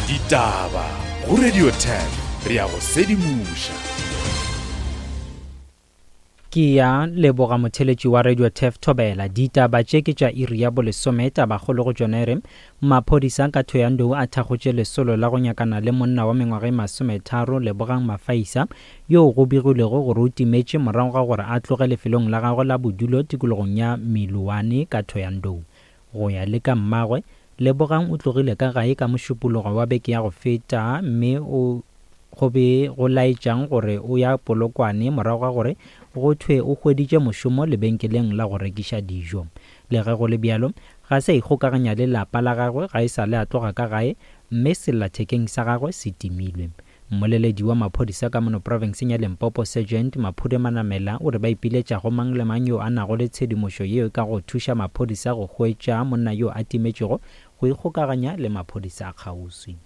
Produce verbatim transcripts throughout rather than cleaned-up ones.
Ditaba go Radio ten re ya go sedimoša. Ke ya leboga motheletši wa Radio Tef Thobela. Ditaba tše ke tša iri ya bolesome. Tabakgolo go tšona e re maphodisa ka Thohoyandou a thakgotše lesolo la go nyakana le monna wa mengwaga e masometharo Lebogang Mafaisa yo go begilwego gore o timetše morago ga gore a tloge lefelong la gagwe la bodulo tikologong ya Meloane ka Thohoyandou. Go ya le ka mmagwe, Lebogang o tlogile ka gae ka mošupologo wa beke ya go feta mme o go be go laetšang gore o ya Polokwane morago ga gore go thwe o hweditše mošomo lebenkeleng la go rekiša dijo. Le ge go le bjalo, ga se a ikgokaganya le lapa la gagwe ga e sa le a tloga ka gae mme sellathekeng sa gagwe se timilwe. Mmoleledi wa maphodisa ka mono profenseng ya Limpopo Sergeant Maphude Manamela o re ba ipiletša go mang le mang yo a nago le tshedimošo yeo e ka go thuša maphodisa go hwetša monna yo a timetšego go ikgokaganya le maphodisa a kgauswi.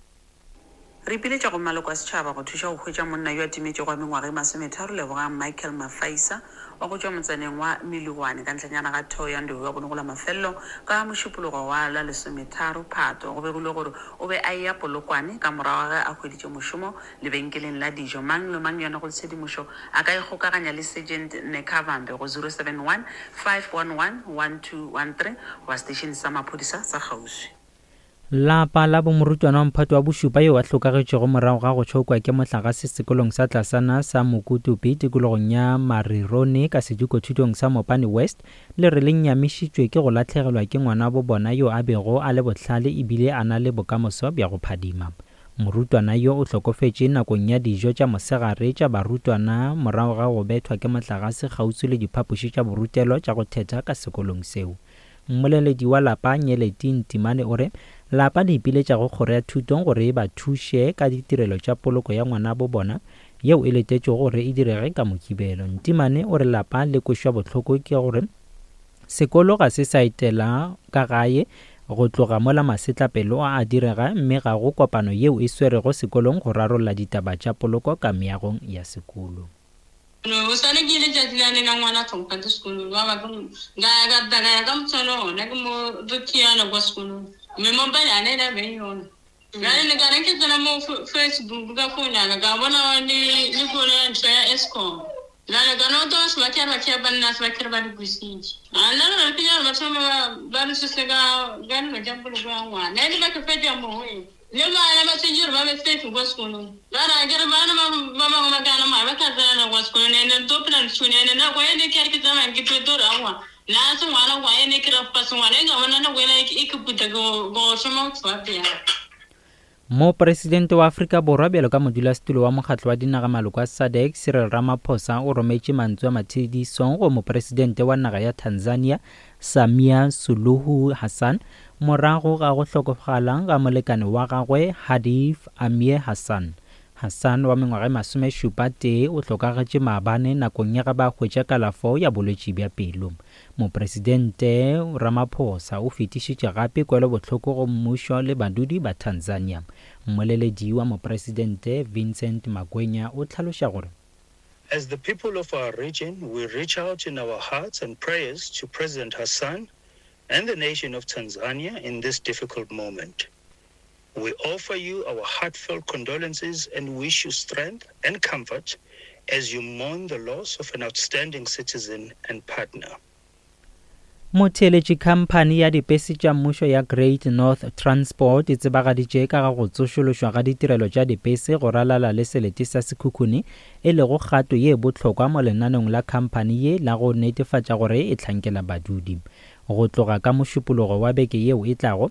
Re ipiletša go maloko a setšhaba go thuša go hwetša monna yo a timetšego wa mengwaga e masometharo Lebogang Michael Mafaisa wa go tšwa motsaneng wa Meloane ka ntlhanyana ga Thohoyandou wa bonogola mafelelo ka mošupologo wa la lesometharo Phato. Go begilwe gore o be a eya Polokwane ka morago ga ge a hweditše mošomo lebenkeleng la dijo. Mang le mang yo a nago le tshedimošo a ka ikgokaganya le Sergeant Nekavambe go zero seven one, five one one, one two one three goba seteišene sa maphodisa sa kgauswi. Lapa la bomorutwana wa mphato wa bošupa yo a hlokagetšego morago ga go tšhokwa ke mohlagase sekolong sa tlasana sa Mokutupi tikologong ya Marirone ka sedikothutong sa Mopani West le re le nyamišitšwe ke go lahlegelwa ke ngwana bo bona yo a bego a le bohlale ebile a na le bokamoso bja go phadima. Morutwana yo o hlokofetše nakong ya dijo tša mosegare tša barutwana morago ga go bethwa ke mohlagase kgauswi le diphapoši tša borutelo tša go thetha ka sekolong seo. Mmoleledi wa lapa Nyeleti Ntimane o re lapa le ipiletša go kgoro ya thuto gore e ba thuše ka ditirelo tša poloko ya ngwana bo bona yeo e letetšego gore e direge ka Mokibelo. Ntimane o re lapa le kwešwa bohloko ke gore sekolo ga se sa etela ka gae go tloga mola masetlapelo a a direga mme ga go kopano yeo e swerego sekolong go rarolla ditaba tša poloko ka meagong ya sekolo. No, o swane ke letšatši la le la ngwana tlhompha sekolong ba ba ka ka ka ya ka motshwana ona ke mo re khiana kwa sekolong mme mobile a ne la be yona bjale le ka re ke tsena mo Facebook ka phone ya ka ka bona le le kolo ya ntho ya Eskom bjale ka no to se ba kere ba kere banna se ba kere ba di busitše a nna re ke ya ba thoma ba ba re suse ka ka dilo tša poloko ya ngwana e le ba ke fetša moo le bana ba tshwanetse gore ba be safe kwa sekolong ba ra kere bana ba ba bangwe ba kana mara ba tla tsena kwa sekolong ene to phela ntshone ene nako e ne ke re ke tsamaya ke tlo re aowa nna se ngwana kwa ene ke ra fa sengwana e ka bona nako ena e ke puta go go šoma go tswa pele. Mopresidente wa Afrika Borwa bjalo ka modulasetulo wa mokgatlo wa dinaga maloko a SADC Cyril Ramaphosa o rometše mantswe a matshedisong go mopresidente wa naga ya Tanzania Samia Suluhu Hassan morago ga go hlokofala ga molekane wa gagwe Hadif Amir Hassan. Hassan wa mengwaga e masomešupa tee o hlokagetše maabane nakong ya ge ba hwetša kalafo ya bolwetši bja pelo. Mopresidente Ramaphosa o fetišitše gape kwelobohloko go mmušo le badudi ba Tanzania. Mmoleledi wa mopresidente Vincent Magwenya o hlaloša gore As the people of our region, we reach out in our hearts and prayers to President Hassan and the nation of Tanzania in this difficult moment. We offer you our heartfelt condolences and wish you strength and comfort as you mourn the loss of an outstanding citizen and partner. Motheeletši khamphani ya dipese tša mmušo ya Great North Transport e tsebagaditše ka ga go tsošološwa ga ditirelo tša dipese go ralala le selete sa Sekhukhune e lego kgato ye bohlokwa mo lenaneong la khamphani ye la go netefatša gore e hlankela badudi. Go tloga ka mošupologo wa beke yeo e tlago,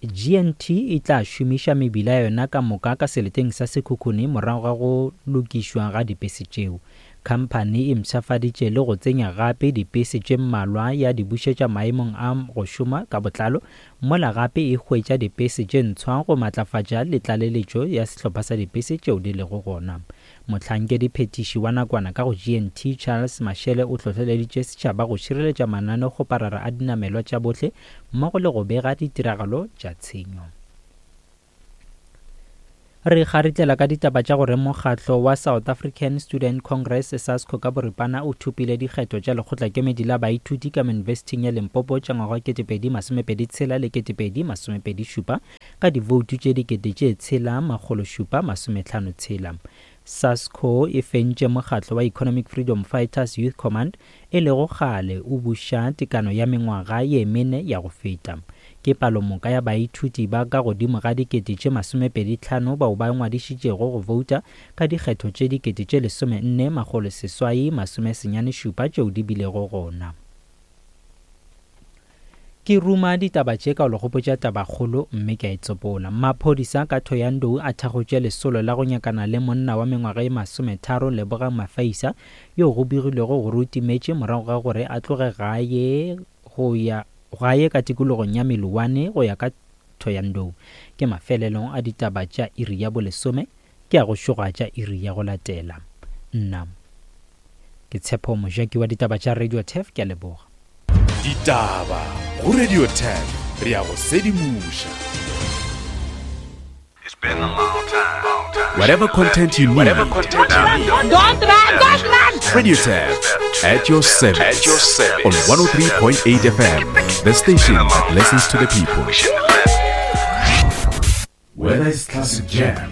G N T e tla šomiša mebila ya yona ka moka ka seleteng sa Sekhukhune morago ga go lokišwa ga dipese tšeo. Khamphani e mpshafaditše le go tsenya gape dipese tše mmalwa ya di bušetša maemong a go šoma ka botlalo, mola gape e hwetša dipese tše ntshwa go matlafatša le tlaleletšo ya sehlopha sa dipese tšeo di lego gona. Mohlankedi phetiši wa nakwana ka go G N T Charles Mashele o hlohleleditše setšhaba go šireletša mananeokgoparara a dinamelwa tša bohle mmogo le go bega ditiragalo tša tshenyo. Re kgaritlela ka ditaba tša gore mokgatlo wa South African Student Congress SASCO ka boripana o thopile dikgetho tša lekgotlakemedi la baithuti ka Yunibesithing ya Limpopo tša ngwaga wa ketepedi masomepedi tshela le ketepedi masomepedi šupa ka divoutu tše dikete tše tshela makgolo šupa masometlhano tshela. SASCO e fentše mokgatlo wa Economic Freedom Fighters Youth Command e lego kgale o buša tekano ya mengwaga ye mene ya go feta. Ke palomoka ya baithuti ba ka godimo ga dikete tše masomepedi tlhano bao ba ngwadišitšego go vouta ka dikgetho tše dikete tše lesomenne makgolo seswai masome senyane šupa tšeo di bilego gona. Ke ruma ditaba tše ka o le gopotša tabakgolo mme ke a e tsopola. Maphodisa ka Thohoyandou a thakgotše lesolo la go nyakana le monna wa mengwaga e masometharo Lebogang Mafaisa yo go begilwego gore o timetše morago ga gore a tloge gae go ya gae ka tikologong ya Meloane go ya ka Thohoyandou. Ke mafelelong a ditaba tša iri ya bolesome ke a go šoga tša iri ya go latela. Nna ke Tshepo Mojaki wa ditaba tša Radio Turf, ke a leboga. Ditaba go Radio Turf, re a go sedimoša. Whatever content you need, Whatever content you need. Don't run, don't run! Radio Turf at your service. At your service. On one oh three point eight F M, the station that listens to the people. Whether it's classic jam,